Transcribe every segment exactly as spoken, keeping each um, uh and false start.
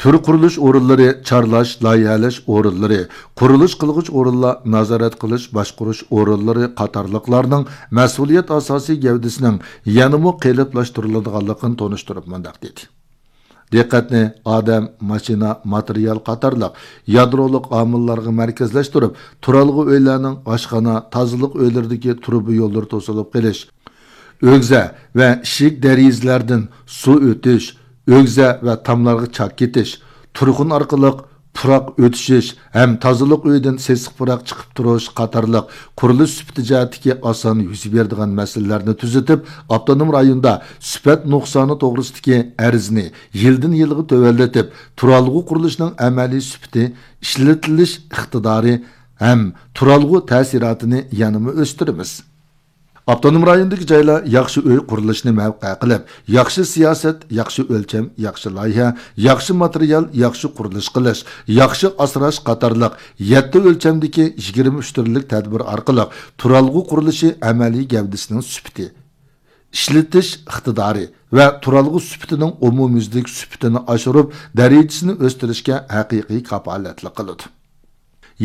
تۈر قۇرۇلۇش ئورۇنلىرى، چارلاش، لايىھەلەش ئورۇنلىرى، قۇرۇلۇش قىلغۇچ ئورۇنلار، نازارەت قىلىش، باشقۇرۇش ئورۇنلىرى قاتارلىقلارنىڭ مەسئۇلىيەت ئاساسىي گەۋدىسىنىڭ يەنىمۇ قېلىپلاشتۇرۇلىدىغانلىقىنى تونۇشتۇرۇپ مۇنداق دېدى: دىققەتنى ئادەم، ماشىنا، ماتېرىيال قاتارلىق يادرولۇق ئامىللارغا مەركەزلەشتۈرۈپ، تۇرالغۇ ئۆيلەرنىڭ ئاشخانا، تازىلىق ئۆيلىرىدىكى تۇرۇبا يوللىرى توسۇلۇپ قېلىش، ئۆگزە ۋە ئىشىك دېرىزىلەردىن سۇ ئۆتۈش، ئۆگزە ۋە تاملارغا چاك كېتىش، تۇرخۇن ئارقىلىق پۇراق ئۆتۈشۈش ھەم تازىلىق ئۆيىدىن سېسىق پۇراق چىقىپ تۇرۇش قاتارلىق قۇرۇلۇش سۈپىتى جەھەتتىكى ئاسان يۈز بېرىدىغان مەسىلىلەرنى تۈزىتىپ، ئاپتونوم رايوندا سۈپەت نۇقسانى توغرىسىدىكى ئەرزنى يىلدىن يىلغا تۆۋەنلىتىپ، تۇرالغۇ قۇرۇلۇشىنىڭ ئەمەلىي سۈپىتى، ئىشلىتىلىش ئىقتىدارى ھەم تۇرالغۇ تەسىراتىنى يەنىمۇ ئۆستۈرىمىز. ئاپتونوم رايوندىكى جايلار ياخشى ئۆي قۇرۇلۇشىنى مەۋقە قىلىپ، ياخشى سىياسەت، ياخشى ئۆلچەم، ياخشى لايىھە، ياخشى ماتېرىيال، ياخشى قۇرۇلۇش قىلىش، ياخشى ئاسراش قاتارلىق يەتتە ئۆلچەمدىكى يىگىرمە ئۈچ تۈرلۈك تەدبىر ئارقىلىق تۇرالغۇ قۇرۇلۇشى ئەمەلىي گەۋدىسىنىڭ سۈپىتى، ئىشلىتىش ئىقتىدارى ۋە تۇرالغۇ سۈپىتىنىڭ ئومۇميۈزلۈك سۈپىتىنى ئاشۇرۇپ، دەرىجىسىنى ئۆستۈرۈشكە ھەقىقىي كاپالەتلىك قىلىدۇ.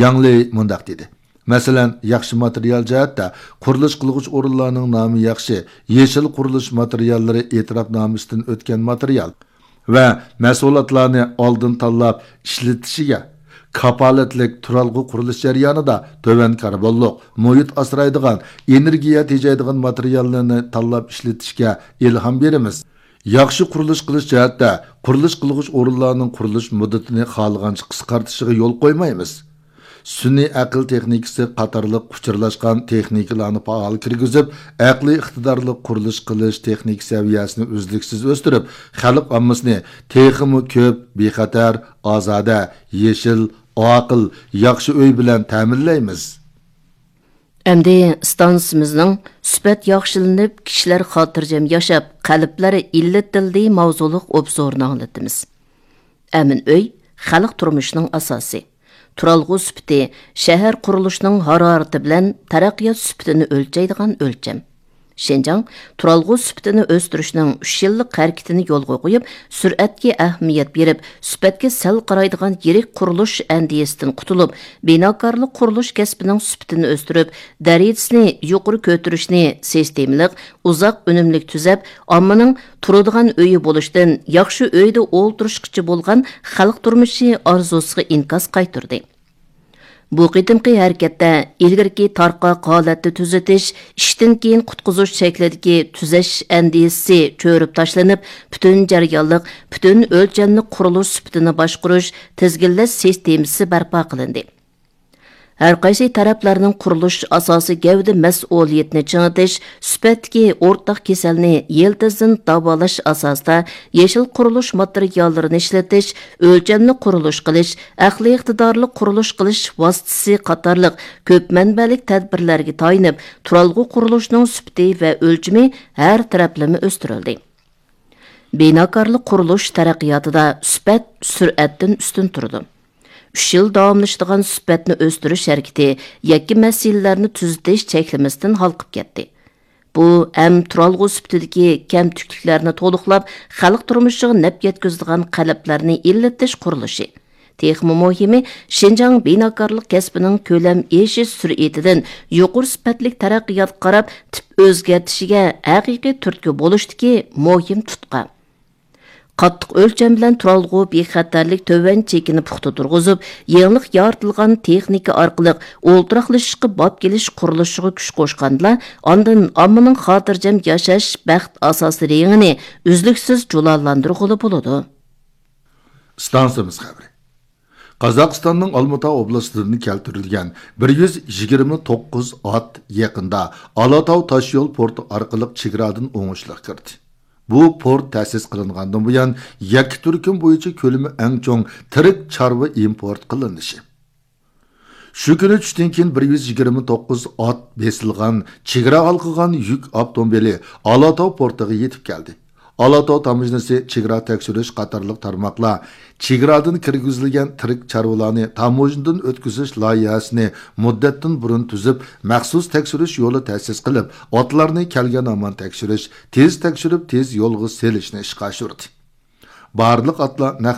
ياڭ لېي مۇنداق دېدى: مەسىلەن، ياخشى ماتېرىيال جەھەتتە قۇرۇلۇش قىلغۇچ ئورۇنلارنىڭ نامى ياخشى، يېشىل قۇرۇلۇش ماتېرىياللىرى ئېتىراپنامىسىدىن ئۆتكەن ماتېرىيال ۋە مەھسۇلاتلارنى ئالدىن تاللاپ ئىشلىتىشىگە، كاپالەتلىك تۇرالغۇ قۇرۇلۇش جەريانىدا تۆۋەن كاربونلۇق، مۇھىت ئاسرايدىغان، ئېنېرگىيە تېجەيدىغان ماتېرىياللارنى تاللاپ ئىشلىتىشكە ئىلھام بېرىمىز. ياخشى قۇرۇلۇش قىلىش جەھەتتە قۇرۇلۇش قىلغۇچ ئورۇنلارنىڭ قۇرۇلۇش مۇددىتىنى خالىغانچە قىسقارتىشىغا يول قويمايمىز. سۈنئىي ئەقىل تېخنىكىسى قاتارلىق ئۇچۇرلاشقان تېخنىكىلارنى پائال كىرگۈزۈپ، ئەقلىي ئىقتىدارلىق قۇرۇلۇش قىلىش تېخنىكا سەۋىيەسىنى ئۈزلۈكسىز ئۆستۈرۈپ، خەلق ئاممىسىنى تېخىمۇ كۆپ، بىخەتەر، ئازادە، يېشىل، ئاقىل، ياخشى ئۆي بىلەن تەمىنلەيمىز. ئەمدى ئىستانسىمىزنىڭ سۈپەت ياخشىلىنىپ، كىشىلەر خاتىرجەم ياشاپ، قەلبلەر ئىللىتىلدى ماۋزۇلۇق ئوبزورىنى ئاڭلىتىمىز. ئەمىن ئۆي، خەلق تۇرمۇشىنىڭ ئاساسى. تۇرالغۇ سۈپىتى، شەھەر قۇرۇلۇشىنىڭ ھارارىتى بىلەن تەرەققىيات سۈپىتىنى ئۆلچەيدىغان ئۆلچەم. شىنجاڭ تۇرالغۇ سۈپىتىنى ئۆستۈرۈشنىڭ ئۈچ يىللىق ھەرىكىتىنى يولغا قويۇپ، سۈرئەتكە ئەھمىيەت بېرىپ، سۈپەتكە سەل قارايدىغان يىرىك قۇرۇلۇش ئەندىزىسىدىن قۇتۇلۇپ، بىناكارلىق قۇرۇلۇش كەسپىنىڭ سۈپىتىنى ئۆستۈرۈپ، دەرىجىسىنى يۇقىرى كۆتۈرۈشنى سىستېمىلىق، ئۇزاق ئۈنۈملۈك تۈزەپ، ئاممىنىڭ تۇرىدىغان ئۆيى بولۇشتىن ياخشى ئۆيدە ئولتۇرۇشقىچە بولغان خەلق تۇرمۇشى ئارزۇسىغا ئىنكاس قايتۇردى. بۇ قېتىمقى ھەرىكەتتە ئىلگىرىكى تارقاق ھالەتتە تۈزىتىش، ئىشتىن كېيىن قۇتقۇزۇش شەكلىدىكى تۈزەش ئەندىزىسى چۆرۈپ تاشلىنىپ، پۈتۈن جەريانلىق، پۈتۈن ئۆلچەملىك قۇرۇلۇش سۈپىتىنى باشقۇرۇش، تىزگىنلەش سىستېمىسى بەرپا قىلىندى. ھەرقايسى تەرەپلەرنىڭ قۇرۇلۇش ئاساسىي گەۋدە مەسئۇلىيىتىنى چىڭىتىش، سۈپەتتىكى ئورتاق كېسەلنى يىلتىزدىن داۋالاش ئاساسىدا يېشىل قۇرۇلۇش ماتېرىياللىرىنى ئىشلىتىش، ئۆلچەملىك قۇرۇلۇش قىلىش، ئەقلىي ئىقتىدارلىق قۇرۇلۇش قىلىش ۋاسىتىسى قاتارلىق كۆپ مەنبەلىك تەدبىرلەرگە تايىنىپ، تۇرالغۇ قۇرۇلۇشىنىڭ سۈپىتى ۋە ئۆلچىمى ھەر تەرەپلىمە ئۆستۈرۈلدى. بىناكارلىق قۇرۇلۇش تەرەققىياتىدا سۈپەت، سۈرئەتتىن ئۈستۈن تۇرىدۇ. ئۈچ يىل داۋاملىشىدىغان سۈپەتنى ئۆستۈرۈش ھەرىكىتى يەككە مەسىلىلەرنى تۈزىتىش چەكلىمىسىدىن ھالقىپ كەتتى. بۇ ھەم تۇرالغۇ سۈپىتىدىكى كەمتۈكلۈكلەرنى تولۇقلاپ، خەلق تۇرمۇشىغا نەپ يەتكۈزىدىغان قەلبلەرنى ئىللىتىش قۇرۇلۇشى. تېخىمۇ مۇھىمى، شىنجاڭ بىناكارلىق كەسپىنىڭ كۆلەم ئېشىش سۈرئىتىدىن يۇقىرى سۈپەتلىك تەرەققىياتقا قاراپ تىپ ئۆزگەرتىشىگە ھەقىقىي تۈرتكە بولۇشتىكى مۇھىم تۇتقا. قاتتىق ئۆلچەم بىلەن تۇرالغۇ بىخەتەرلىك تۆۋەن چېكىنى پۇختا تۇرغۇزۇپ، يېڭىلىق يارىتىلغان تېخنىكا ئارقىلىق ئولتۇراقلىشىشقا باب كېلىش قۇرۇلۇشىغا كۈچ قوشقاندىلا، ئاندىن ئاممىنىڭ خاتىرجەم ياشاش بەخت ئاساسىي رېڭىنى ئۈزلۈكسىز جۇلالاندۇرغىلى بولىدۇ. ئىستانسىمىز خەۋىرى. قازاقىستاننىڭ ئالمۇتا ئوبلاستىدىن كەلتۈرۈلگەن بىر يۈز يىگىرمە توققۇز ئات يېقىندا ئالاتاۋ تاشيول پورتى ئارقىلىق چېگرادىن ئوڭۇشلۇق كىردى. بۇ پورت تەسىس قىلىنغاندىن بۇيان، يەككە تۈركۈم بويىچە كۆلىمى ئەڭ چوڭ تىرىك چارۋا ئىمپورت قىلىنىشى. شۇ كۈنى چۈشتىن كېيىن بىر يۈز يىگىرمە توققۇز ئات بېسىلغان، چېگرا ھالقىغان يۈك ئاپتوموبىلى ئالاتاۋ پورتىغا يېتىپ كەلدى. ئالاتاۋ تاموژنىسى، چېگرا تەكشۈرۈش قاتارلىق تارماقلار چېگرادىن كىرگۈزۈلگەن تىرىك چارۋىلارنى تاموژنىدىن ئۆتكۈزۈش لايىھەسىنى مۇددەتتىن بۇرۇن تۈزۈپ، مەخسۇس تەكشۈرۈش يولى تەسىس قىلىپ، ئاتلارنى كەلگەن ھامان تەكشۈرۈش، تېز تەكشۈرۈپ، تېز يولغا سېلىشنى ئىشقا ئاشۇردى. بارلىق ئاتلار نەق